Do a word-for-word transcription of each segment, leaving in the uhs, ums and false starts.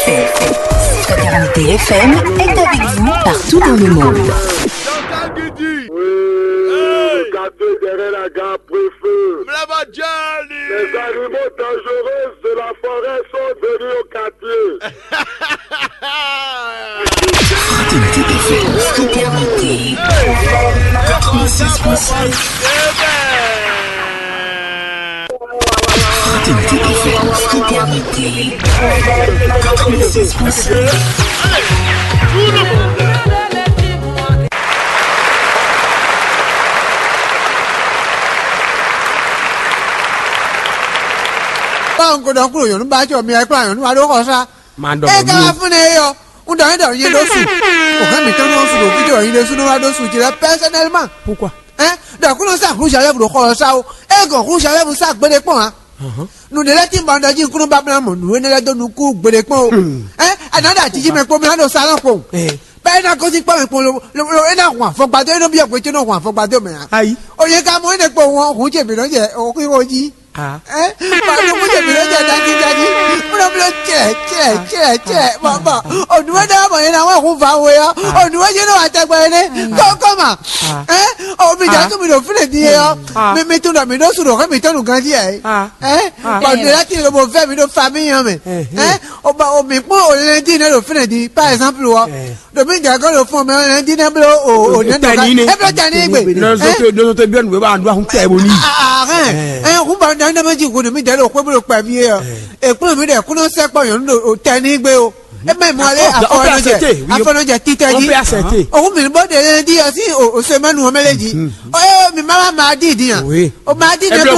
Fraternité F M est avec vous partout dans le monde. Jean-Jacques Guidi. Oui, le quartier derrière la gare préfet. Mlaba Jali. Les animaux dangereux de la forêt sont venus au quartier. Fraternité F M. Fraternité quatre-vingt-six point cinq. Fraternité F M. Fraternité quatre-vingt-six point cinq. Báwo un ko ɖɔ kúrò nyɔ̌nu ba jɔ mi wɛ kplá nyɔ̌nu wa ɖó xɔ sá? Má ɖɔ eye ka wá fún ne yɔ, un ɖɔ yín ɖɔ yín ɖó su. O hɛn mi tɔn ɖó su ɖo fíjɔ yín ɖó su ɖó wá ɖó su jí lɛ pɛsɛnɛlman. Pourquoi? Hein? Ɖɔ kúnɔ sa hu jalɛbu ɖo xɔ sa o. E gɔn hu jalɛbu sa gbede kpɔn a? Nu ɖe lɛ ti ba ɖɔ jí kúnɔ babla mɔ nu ene lɛ dó nukú gbede kpɔn o. Hein? Ana ɖe atiji mɛ kpɔn mi na ɖo salon kpɔn. Bɛ ena gɔzi kpɔn mi kpɔn lo lo lo ena hun afɔgbado ena biɔ gbɛtɛ nɔ hun afɔgbado mɛ a? Ayi. O ye ka mɔ ene kpɔn wɔn hun ce mi nɔ jɛ o kí o jí. Ɛ, ma ɖo kúndé mi ló jɛ dájídájí. Múlò múlò cɛ cɛ cɛ cɛ. Bɔn bɔn. Onuwe ɖe bɔ yẹn na wɛ hu va we ɔ. Onuwe yẹn na wà tɛgbɛ yẹn ne. Kɔkɔ ma. Ɛ, o mi jà tún mi ɖo fúnɛ di yɛ ɔ. Mi mi tún dɔ mi ɖo sùn ɖo xɛ mi tɔnu ganji yɛ. Ɛ, bɔn mi la ti lobo vɛ mi ɖo fami yẹn mɛ. Ɛ, o ba o mi kpɔn o lɛndi ne ɖo fúnɛ di par exemple ɔ. Ɖo mi jɛ gɔ́ ɖo fún mɛ ɔ́, ɛn dín nɛ́ bló o o nɛ́ nɔ ká. Tɛni ne. É bló tɛni gbe. Nɔzɔtɔ nɔzɔtɔ bí ɛnu wɛ bá ɖó ahun tɛ bo ní. Ahɛn. Ɛ hu ba nɛ́ nɛ́ mɛ jí hu mi dɛ ɖo xwé bó ɖo kpɛ mi é ɔ. Ekplɔ́n mi ɖe kúnɔ sɛkpɔ nyɔ̌nu ɖo tɛni gbe o. E mɛ mɔ ale afɔnɔjɛ afɔnɔjɛ titɛ jí. Òun mi bó de ɛn dín ɔ sí o sɛmɛnu ɔmɛ lé jí. Ɔ mi ma ma ma di di yan. O ma di ne bló.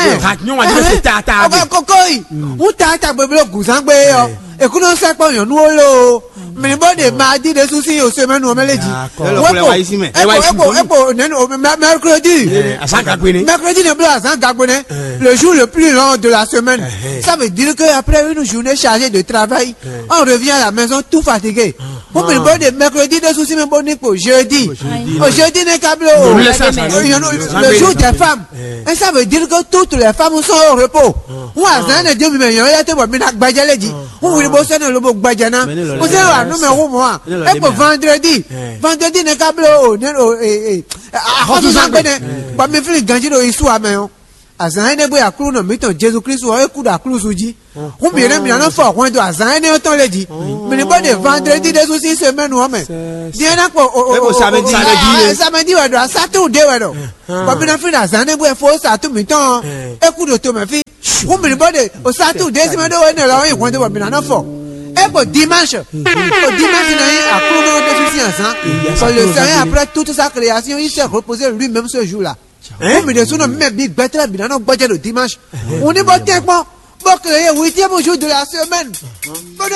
Ahɛn. Koko yi. Hu ta ta gbe bló gùzán gbe ɔ. Ekúnɔ sɛkpɔ nyɔ̌nu wo lo. Mɛ bɔ de mardi ɖésú sín o semaine ɔmɛ lé jí. D'accord. Weko weko weko nɛnu mercredi. Azan gagbe ne. Mercredi ne blo azan gagbe ne. Le jour le plus long de la semaine. Ça veut dire que après une journée chargée de travail, on revient à la maison tout fatigué. Pour mɛ bɔ de mercredi ɖésú sín mɛ bɔ ní kpo jeudi. Au jeudi ne kablo. Le jour des femmes. Et ça veut dire que toutes les femmes sont au repos. Hu azan ne dio mi mɛ nyɔ ya te bɔ mi na gbɛjɛ le jí. Hu wuli bó sɛnɛ lobo gbɛjɛ na. Bó sɛnɛ wa nu mɛ hu mɔ a. E ko vendredi. Vendredi ne ka blo o ne o e e. Ahɔsuzan gbɛnɛ. Bɔ mi fili ganji ɖo isu amɛ o. Azan ene bó ya kúrú nɔ mi tɔn Jesu Kristu ɔ e kú ɖo aklúzu jí. Hu mi ne mi nɔ fɔ hwɛn do azan ene tɔn le jí. Mi ni bó de vendredi ɖe su si semaine ɔ mɛ. Diɛ na kpɔ o o o samedi wɛ ɖo asatu de wɛ ɖo. Bɔn mi na fi na azan ne bó e fo satu mi tɔn. E kú ɖo to mɛ fi. Hu mi ni bó de o satu de si mɛ ɖo wɛ ne lɔ yi hwɛn do bɔ mi na nɔ fɔ. E ko dimanche. O dimanche na yi aklúnɔ ɖe su si azan. Quand le Seigneur après toute sa création il s'est reposé lui-même ce jour-là. Hu mi ɖe su nɔ mi mɛ bi gbɛtɛlɛ bi na nɔ gbɔjɛ ɖo dimanche. Hu ni bó tɛ kpɔn. Bó créé huitième jour de la semaine. Bó na